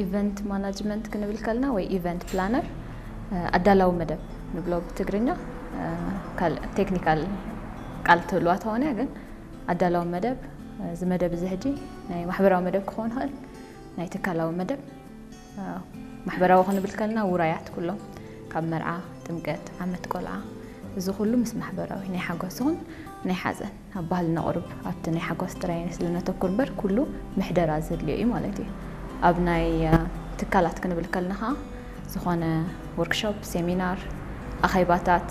ኢቨንት ማናጅመንት ክንብል ከልና ወይ ኢቨንት ፕላነር፣ ኣዳላዊ መደብ ንብሎ ብትግርኛ። ካልእ ቴክኒካል ቃል ትህልዋ ተኾነ፣ ግን ኣዳላዊ መደብ፣ እዚ መደብ እዚ ሕጂ ናይ ማሕበራዊ መደብ ክኸውን ይኽእል፣ ናይ ትካላዊ መደብ። ማሕበራዊ ክንብል ከልና ውራያት ኩሎም፣ ካብ መርዓ፣ ጥምቀት፣ ዓመት ቆልዓ፣ እዚ ኩሉ ምስ ማሕበራዊ ናይ ሓጎስ ይኹን ናይ ሓዘን ኣብ ባህልና ቁሩብ ኣብቲ ናይ ሓጎስ ጥራይ ስለ ነተኩር እምበር ኩሉ ምሕደራ ዘድልዮ እዩ ማለት እዩ። ኣብ ናይ ትካላት ክንብል ከልና ኸዓ ዝኾነ ወርክሾፕ፣ ሴሚናር፣ ኣኼባታት፣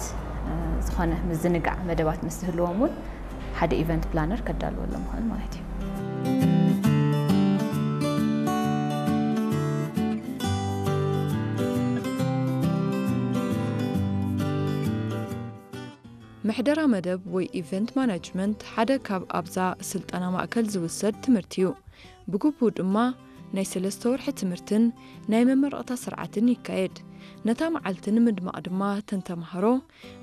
ዝኾነ ምዝንጋዕ መደባት ምስ ዝህልዎም እውን ሓደ ኢቨንት ፕላነር ከዳልወሎም ይኽእል ማለት እዩ። ምሕደራ መደብ ወይ ኢቨንት ማናጅመንት ሓደ ካብ ኣብዛ ስልጠና ማእከል ዝውሰድ ትምህርቲ እዩ። ብግቡእ ድማ ናይ ሰለስተ ወርሒ ትምህርትን ናይ መመረቕታ ስርዓትን ይካየድ። ነታ መዓልቲ ንምድማቕ ድማ እተን ተምሃሮ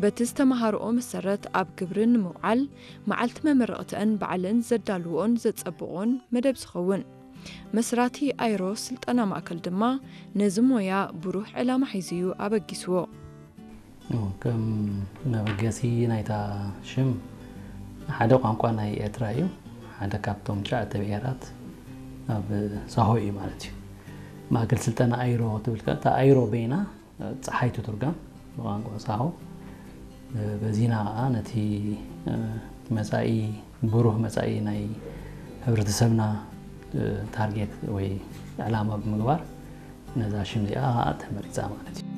በቲ ዝተምሃርኦ መሰረት ኣብ ግብሪ ንምውዓል መዓልቲ መመረቕተአን ባዕለን ዘዳልውኦን ዘጸብቕኦን መደብ ዝኸውን። መስራቲ ኣይሮ ስልጠና ማእከል ድማ ነዚ ሞያ ብሩህ ዕላማ ሒዙ እዩ ኣበጊስዎ። ከም መበገሲ ናይታ ሽም ሓደ ቋንቋ ናይ ኤርትራ እዩ። ሓደ ካብቶም ትሽዓተ ብሄራት ኣብ ሳሆ እዩ ማለት እዩ። ማእከል ስልጠና ኣይሮ ትብል ከ እታ ኣይሮ በይና ጸሓይ ትትርገም ብቋንቋ ሳሆ። በዚና ከዓ ነቲ መጻኢ ብሩህ መጻኢ ናይ ሕብረተሰብና ታርጌት ወይ ዕላማ ብምግባር ነዛ ሽም እዚኣ ተመሪፃ ማለት እዩ።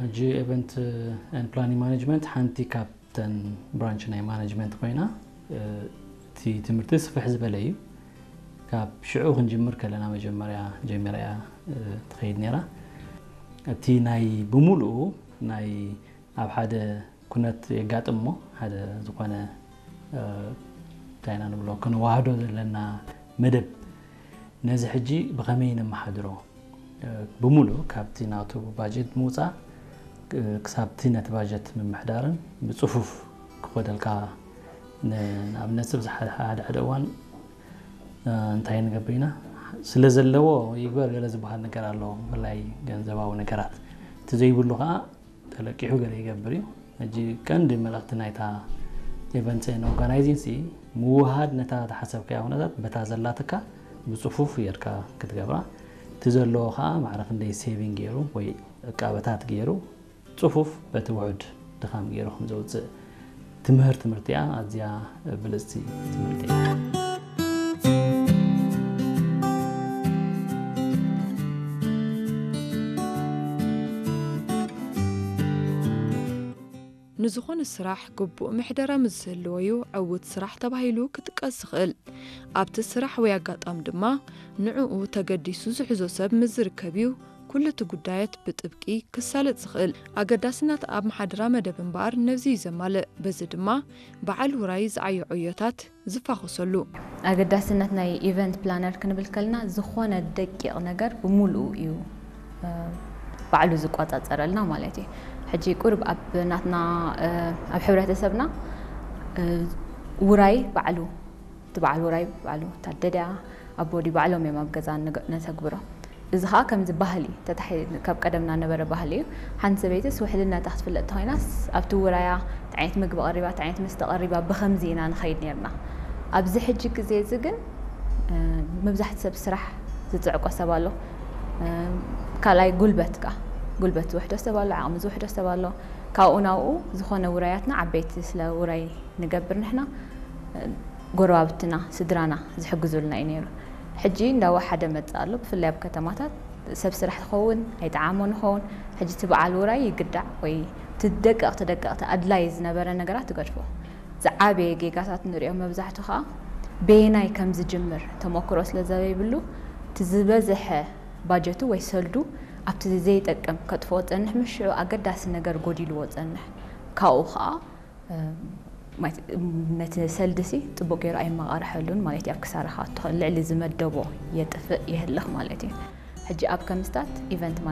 ሕጂ event and planning management ሓንቲ ካብተን ብራንች ናይ ማናጅመንት ኮይና እቲ ትምህርቲ ስፍሕ ዝበለ እዩ። ካብ ሽዑ ክንጅምር ከለና መጀመርያ ጀሚራ እያ ትኸይድ ነይራ። እቲ ናይ ብምሉኡ ናይ ኣብ ሓደ ኩነት የጋጥም እሞ ሓደ ዝኾነ እንታይ ኢና ንብሎ ክንወሃዶ ዘለና መደብ ነዚ ሕጂ ብኸመይ ነመሓድሮ? ብምሉእ ካብቲ ናቱ ባጀት ምውፃእ ክሳብቲ ነቲ ባጀት ምምሕዳርን ብፅፉፍ ክኸደልካ ንኣብነት ሰብ ሓደ ሓደ እዋን እንታይ ንገብር ኢና ስለ ዘለዎ ይግበር ገለ ዝበሃል ነገር ኣሎ ብፍላይ ገንዘባዊ ነገራት እቲ ዘይብሉ ከዓ ተለቂሑ ገለ ይገብር እዩ። ሕጂ ቀንዲ መልእኽቲ ናይታ events and organizing ሲ ምውሃድ ነታ ተሓሰብካያ ኩነታት በታ ዘላትካ ብፅፉፍ ጌርካ ክትገብራ እቲ ዘለዎ ከዓ ማዕረ ክንደይ ሴቪንግ ገይሩ ወይ ዕቃበታት ገይሩ ፅፉፍ በቲ ውሑድ ድኻም ገይሩ ከም ዘውፅእ ትምህር ትምህርቲ እያ። ኣዝያ ብልፅቲ ትምህርቲ እያ። ንዝኾነ ስራሕ ግቡእ ምሕደራ ምስ ዝህልዎ እዩ ዕዉት ስራሕ ተባሂሉ ክጥቀስ ዝኽእል። ኣብቲ ስራሕ ወይ ኣጋጣሚ ድማ ንዕኡ ተገዲሱ ዝሕዞ ሰብ ምስ ዝርከብ እዩ ኩሉ እቲ ጉዳያት ብጥብቂ ክሳለጥ ዝኽእል። ኣገዳስነት ኣብ መሓድራ መደብ እምበኣር ነብዚ እዩ ዘማልእ። በዚ ድማ በዓል ውራይ ዝዓዮ ዕዮታት ዝፋኾሰሉ። ኣገዳስነት ናይ ኢቨንት ፕላነር ክንብል ከልና ዝኾነ ደቂቕ ነገር ብምሉኡ እዩ ባዕሉ ዝቆፃፀረልና ማለት እዩ። ሕጂ ቁርብ ኣብ ናትና ኣብ ሕብረተሰብና ውራይ ባዕሉ እቲ በዓል ውራይ ባዕሉ ታደዳ ኣቦዲ ባዕሎም እዮም ኣብ ገዛ ነተግብሮ። እዚ ከዓ ከምዚ ባህሊ ተታሒ ካብ ቀደምና ነበረ ባህሊ እዩ። ሓንቲ ሰበይትስ ውሕልነታ ክትፍለጥ ተኮይናስ ኣብቲ ውራያ እንታይ ዓይነት ምግቢ ቀሪባ እንታይ ዓይነት መስተ ቀሪባ ብከምዚ ኢና ንኸይድ ነርና። ኣብዚ ሕጂ ግዜ እዚ ግን መብዛሕቲ ሰብ ስራሕ ዝፅዕቆ ሰብ ኣሎ። ካልኣይ ጉልበት ከዓ ጉልበት ዝውሕዶ ሰብ ኣሎ፣ ዓቕሚ ዝውሕዶ ሰብ ኣሎ። ካብኡ ናብኡ ዝኾነ ውራያትና ዓበይቲ ስለ ውራይ ንገብር ንሕና ጎረባብትና ስድራና ዝሕግዙልና እዩ ነይሩ። ሕጂ እንዳወሓደ መፅእ ኣሎ። ብፍላይ ኣብ ከተማታት ሰብ ስራሕ ትኸውን ኣይጠዓሞን ይኸውን። ሕጂ እቲ በዓል ውራይ ይግዳዕ ወይ እቲ ደቀቕቲ ደቀቕቲ ኣድላይ ዝነበረ ነገራት ትገድፎ። ዝዓበየ ጌጋታት ንሪኦ መብዛሕቱ ከዓ በየናይ ከም ዝጅምር ተመክሮ ስለ ዘይብሉ እቲ ዝበዝሐ ባጀቱ ወይ ሰልዱ ኣብቲ ዘይጠቅም ከጥፍኦ ፀንሕ ምሽዑ ኣገዳሲ ነገር ጎዲልዎ ፀንሕ ካብኡ ከዓ ነቲ ሰልዲ ሲ ፅቡቅ ገይሩ ኣይመቃርሐሉን ማለት እዩ ኣብ ክሳራ ክኣቱ ልዕሊ ዝመደቦ የጥፍእ የህልኽ ማለት እዩ። ሕጂ ኣብ ከምስታት ኢቨንት